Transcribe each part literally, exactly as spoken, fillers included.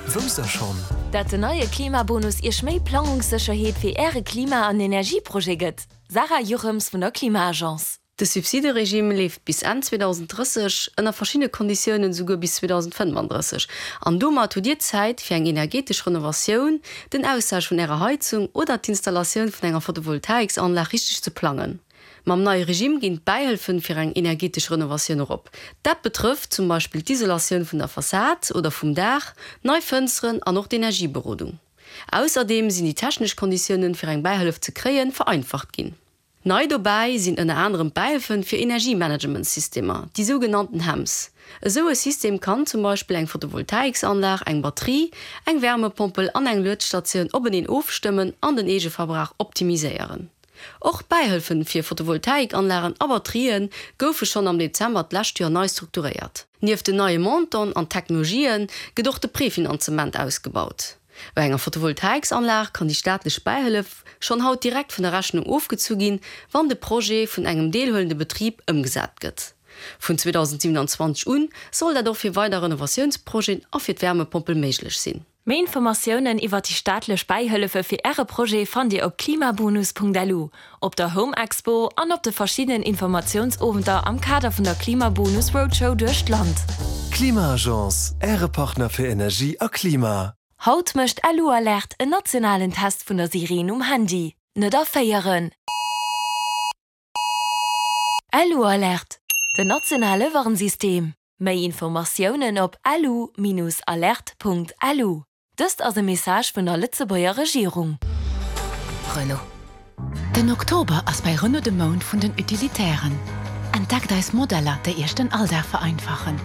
Wousst der schonn? Dat den neie Klimabonus Iech méi Plangungssécherheet fir Äre Klima an Energieprojet gëtt? Sarah Jochems vun der Klima-Agence. De Subsideregime leeft bis Enn zweedausend drësseg, ënner verschiddene Konditiounen souguer bis zweedausend fënnefandrësseg. An domat hutt Dir Zäit fir eng energetesch Renovatioun, den Austausch vun Ärer Heizung oder d'Installatioun vun enger Photovoltaiksanlag richteg ze plangen. Mam neie Regime ginn d'Bäihëllefen fir eng energetesch Renovatioun erop. Dat betrëfft zum Beispill d'Isolatioun vun der Fassad oder vum Daach, nei Fënsteren an och d'Energieberodung. Ausserdeem sinn déi technesch Konditiounen fir eng Bäihëllef ze kréien vereinfacht ginn. Nei dobäi sinn ënner anerem d'Bäihëllefen fir Energiemanagementsystemer, déi sougenannten HEMS. Esou e System kann zum Beispill eng Photovoltaiksanlag, eng Batterie, eng Wärmepompel an eng Luetstatioun openeen ofstëmmen an den Eegeverbrauch optimiséieren. Och d'Bäihëllefen fir Photovoltaikanlagen a Batterië goufe schonn am Dezember d'lescht Joer nei strukturéiert. Nieft den neie Montanten an Technologië gëtt och de Prefinanzement ausgebaut. Bei enger Photovoltaiksanlag kann déi staatlech Bäihëllef schonn haut direkt vun der Rechnung ofgezu ginn, wann de Projet vun engem deelhuelende Betrib ëmgesat gëtt. Vun zweedausend siewenanzwanzeg un soll dat och fir weider Renovatiounsprojeten a fir d'Wärmepompel méiglech sinn. Méi Informatiounen iwwer déi staatlech Bäihëllefe fir Äre Projet fannt Dir op klimabonus Punkt L U, op der Home Expo an op de verschiddenen Informatiounsowenter am Kader vun der Klimabonus Roadshow duerch d'Land. Klima-Agence, Äre Partner fir Energie a Klima. Haut mécht Lu-Alert en nationalen Test vun der Sireen um Handy. Net erféieren! Lu-Alert, den nationale Warnsystem. Méi Informatiounen op lu Bindestrich alert Punkt L U. Dëst ass e Message vun der Lëtzebuerger Regierung. Renault. Den Oktober ass bei Renault de Mount vun den Utilitären. Entdeckt eis Modeller, déi Iech den Alldag vereinfachen.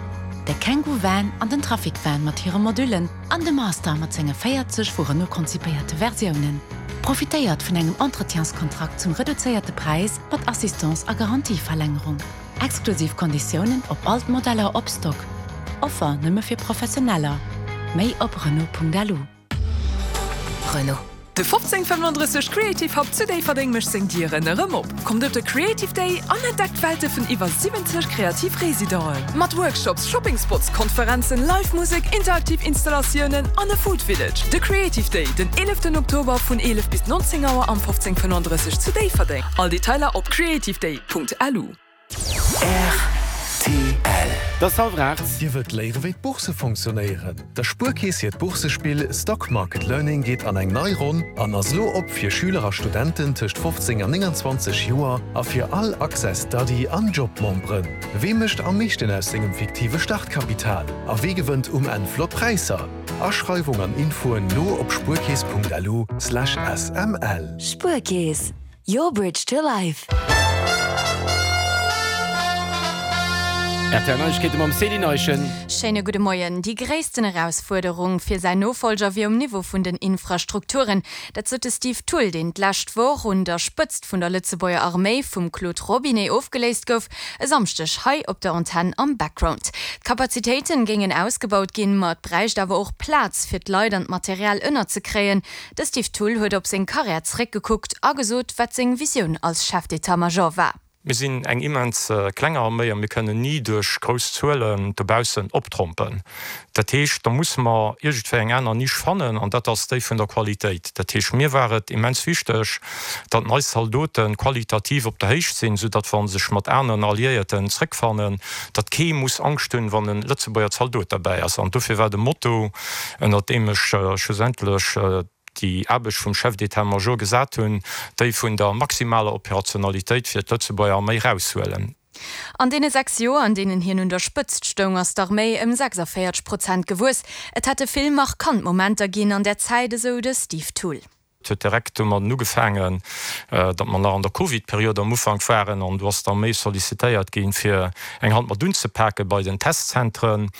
De Kangoo Van an den Trafic Van mat hire Modullen an de Master mat senge véierzeg vu Renault konzipéierte Versiounen. Profitéiert vun engem Entretienskontrakt zum reduzéierte Präis mat Assistance a Garantieverlängerung. Exklusiv Konditiounen op all d'Modeller op Stock. Offer nëmme fir Professioneller. Méi op Renault Punkt L U. Renault. De fofzéng fënnefandrësseg Creative Hub zu Déifferdeng mécht seng Dieren erëm op. Kommt op de Creative Day an entdeckt d'Welte vun iwwer siwwenzeg kreativ Residenten. Mat Workshops, Shopping Spots, Konferenzen, Live-Musek, interaktiv Installatiounen an e Food Village. De Creative Day, den eeleften Oktober vun eelef bis nonzéng Auer am fofzéng fënnefandrësseg zu Déifferdeng. All Detailer op creativeday Punkt L U. R T L. Et ass hallwer aacht. Dir wëllt léieren, wéi d'Bourse funktionéieren? Der Spuerkeess hiert Boursespill Stock Market Learning geet an eng nei Ronn an ass lo op fir Schüler a Studenten tëscht fofzéng an nénganzwanzeg Joer a fir all Access Study an Job-Memberen. Wee mécht am meeschten aus sengem fiktive Startkapital? A wee gewënnt um Enn flott Präisser? Aschreiwung an Infoen lo op spuerkeess Punkt L U Slash S M L. Spuerkeess, your bridge to life. R T L Neiegkeete mam Céline Eischen. Schéine gudde Moien. Déi gréissten Erausfuerderung fir säin Nofollger wier um Niveau vun den Infrastrukturen. Dat sot de Steve Thull, deen d'lescht Woch un der Spëtzt vun der Lëtzebuerger Arméi vum Claude Robinet ofgeléist gouf, e Samschdeg hei op der Antenn am Background. D'Kapazitéiten géingen ausgebaut ginn, ma et bräicht awer och Plaz fir d'Leit an d'Material ënnerzekréien. De Steve Thull huet op seng Karriär zeréckgekuckt a gesot, wat seng Visioun als Chef d'état-major war. Mir sinn eng immens kleng Arméi a mir kënnen ni duerch grouss Zuelen dobaussen optrompen. Dat heescht, da musse mer iergendwéi eng aner Nisch fannen an dat ass déi vun der Qualitéit. Dat heescht, mir war et immens wichteg, datt eis Zaldote qualitativ op der Héicht sinn, soudatt wa se sech mat aneren Alliéierten zréckfannen, datt kee muss Angscht hunn, wann e Lëtzebuerger Zaldot derbäi ass. An dofir war de Motto, ënner deem ech schlussendlech déi Aarbecht vum Chef d'état-major gesat hunn, déi vun der maximaler Operationalitéit fir d'Lëtzebuerger Arméi eraushuelen. An deene sechs Joer, an deenen hien un der Spëtzt stoung, ass d'Arméi ëm sechsavéierzeg Prozent gewuess. Et hätte vill markant Momenter ginn an där Zäit, esou de Steve Thull. Et huet direkt domadden ugefaangen, datt mer nach an der Covid-Period am Ufank waren an do ass d'Arméi sollicitéiert ginn, fir eng Hand mat unzepake bei den Testzentren.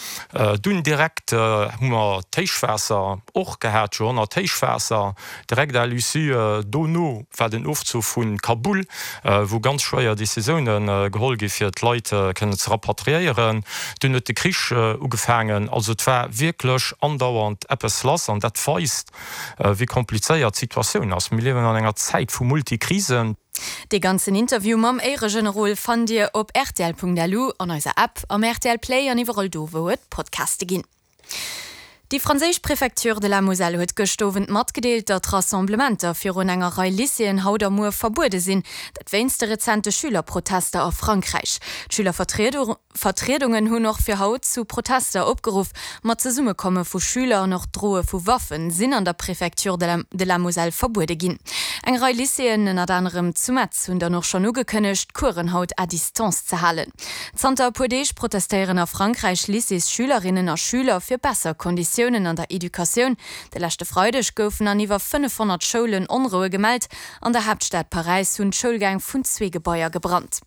Dunn direkt hu mer d'Héichwaasser och gehat, Joerhonnert-Héichwaasser. Direkt à l'issue dono war den Ofzuch vu Kabul, wou ganz schwéier Decisioune geholl gi fir d'Leit kënnen ze rapatriéieren. Dunn huet de Krich ugefaangen. Also et war wierklech andauernd eppes lass an dat weist, wéi komplizéiert d'Situatioun ass. Mir liewen an enger Zäit vu Multikrisen. Dee ganzen Interview mam Éieregenerol fannt Dir op R T L Punkt L U, an eiser App, am R T L Play an iwwerall do, wou et Podcaste ginn. Déi franséisch Préfecture de la Moselle huet gëscht Owend matgedeelt, datt Rassemblementer virun enger Rei Lycéeën haut a muer verbuede sinn. Dat wéinst de rezente Schülerprotester a Frankräich. D'Schülervertriedungen hunn och fir haut zu Protester opgeruff. Ma d'Zesummekomme vu Schüler an och d'Droe vu Waffen sinn an der Préfecture de la Moselle verbuede ginn. Eng Rei Lycéeën, ënnert anerem zu Metz, hunn dann och schonn ugekënnegt, d'Coursen haut à distance ze halen. Zanter e puer Deeg protestéieren a Frankräich Lycéesschülerinnen a Schüler fir besser Konditiounen an der Educatioun. De leschte Freideg goufen an iwwer fënnefhonnert Schoulen Onroue gemellt. An der Haaptstad Paräis hunn d'Schoulgäng vun zwee Gebaier gebrannt.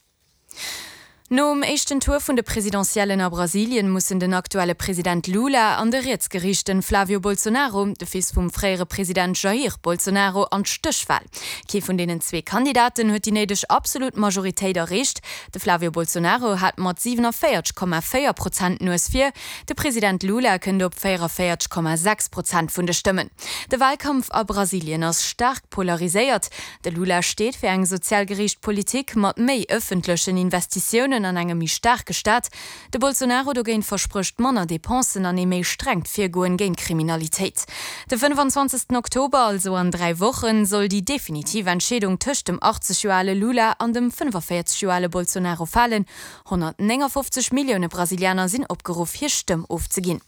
Nom éischten Tour vun de Presidentiellen a Brasilien mussen den aktuelle President Lula an de rietsgeriichten Flavio Bolsonaro, de Fils vum fréiere President Jair Bolsonaro, an d'Stéchwal. Kee vun deenen zwee Kandidaten huet déi néideg absolut Majoritéit erreecht. De Flavio Bolsonaro hat mat siwenavéierzeg Komma véier Prozent d'Nues vir, de President Lula kënnt op véierunvéierzeg Komma sechs Prozent vun de Stëmmen. De Walkampf a Brasilien ass staark polariséiert. De Lula steet fir eng sozial geriicht Politik mat méi ëffentlechen Investitiounen an engem méi staarke Staat. De Bolsonaro dogéint versprécht manner Depensen an ee méi strengt Virgoen géint d'Kriminalitéit. De fënnefanzwanzegsten Oktober, also an dräi Wochen, soll déi definitiv Entscheedung tëscht dem achtzeg Joer ale Lula an dem fënnefavéierzeg Joer ale Bolsonaro falen. honnertnéngafofzeg Millioune Brasilianer sinn opgeruff, hir Stëmm ofzeginn.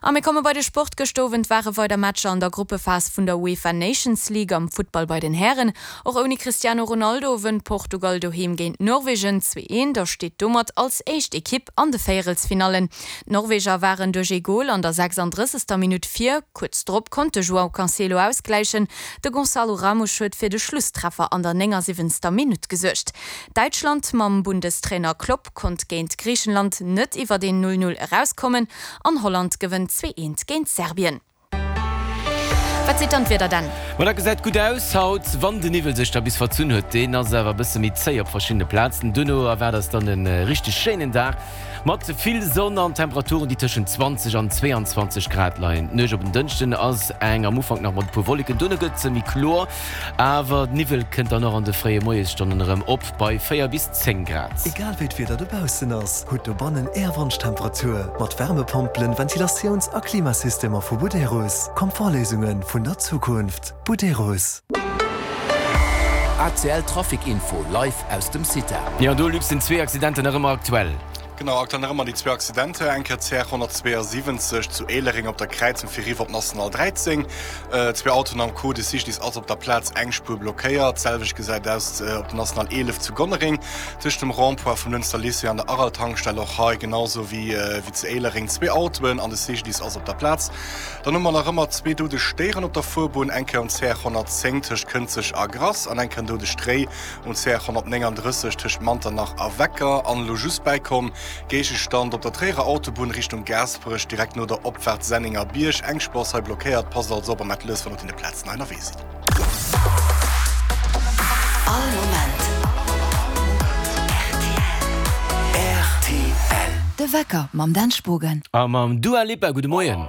A mir komme bei de Sport. Gëscht Owend ware weider Matcher an der Gruppephas vun der UEFA Nations League am Futtball bei den Hären. Och ouni Cristiano Ronaldo wënnt Portugal doheem géint Norwegen zwee eent a steet domat als éischt Ekipp an de Véierelsfinallen. D'Norweger waren duerch ee Gol an der sechsandrëssegster Minutt vir. Kuerz drop konnt de João Cancelo ausgläichen. De Gonçalo Ramos huet fir de Schlusstreffer an der néngasiwwenzter Minutt gesuergt. Däitschland mam Bundestrainer Klopp konnt géint Griichenland net iwwert een Null Null erauskommen an Holland gewënnt zwee eent géint Serbien. Wat seet dann d'Wieder Dan? Ma dat gesäit gutt aus haut, wann de Niwwel sech da bis verzunn huet. Deen ass awer e bësse méi zéi op verschiddene Plazen. Duerno erwaart eis dann e richteg schéinen Dag mat vill Sonn an Temperaturen, déi tëschent zwanzeg an zweeanzwanzeg Grad leien. D'Nuecht op en Dënschden ass eng am Ufank nach mat e puer Wolleken, duerno gëtt se méi kloer, awer Niwwel kënnt dann och an de fréie Moiesstonnen erëm op bei véier bis zéng Grad. Egal wéi d'Wieder dobaussen ass, hutt dobannen Är Wonschtemperatur mat Wärmepompelen, Ventilatiouns a Klimasystemer vu Buderus. Komfortléisunge vun der Zukunft. Buderus. A C L Trafic Info live aus dem CITA. Jo, do Luc, sinn zwee Accidenten nach ëmmer aktuell. Genau, aktuell nach ëmmer déi zwee Accidenter, eng Kéier C R honnertzweeasiwwenzeg zu Éilereng op der Kräizung fir eriwwer op d'National dräizéng, zwee Autoen am Coup, de Cyclist ass op der Plaz, eng Spuer blockéiert. D'selwecht gesäit aus op der National eelef zu Gonnereng, tëscht dem Rond-point vum Lënster Lycée an der Aral-Tankstell, och hei genau sou wéi zu Éilereng zwee Autoen an de Cyclist ass op der Plaz. Dann hu mer nach ëmmer zwee doudeg Déieren op der Fuerbunn, eng Kéier um C R honnertzéng tëscht Kënzeg a Grass an eng Kéier en doudegt Réi um C R honnertnéngandrësseg tëscht Manternach a Wecker. An elo just bäikomm, Géigestand op der Tréierer Autobunn Richtung Gaasperech, direkt no der Opfaart Sennéngerbierg. Eng Spuer ass hei blockéiert, passt also op a maacht lues, wann der op deene Plazen hei ënnerwee sidd. All Moment rtl. De Wecker mam Dan Spogen. A mam Dua Lipa. Gudde Moien.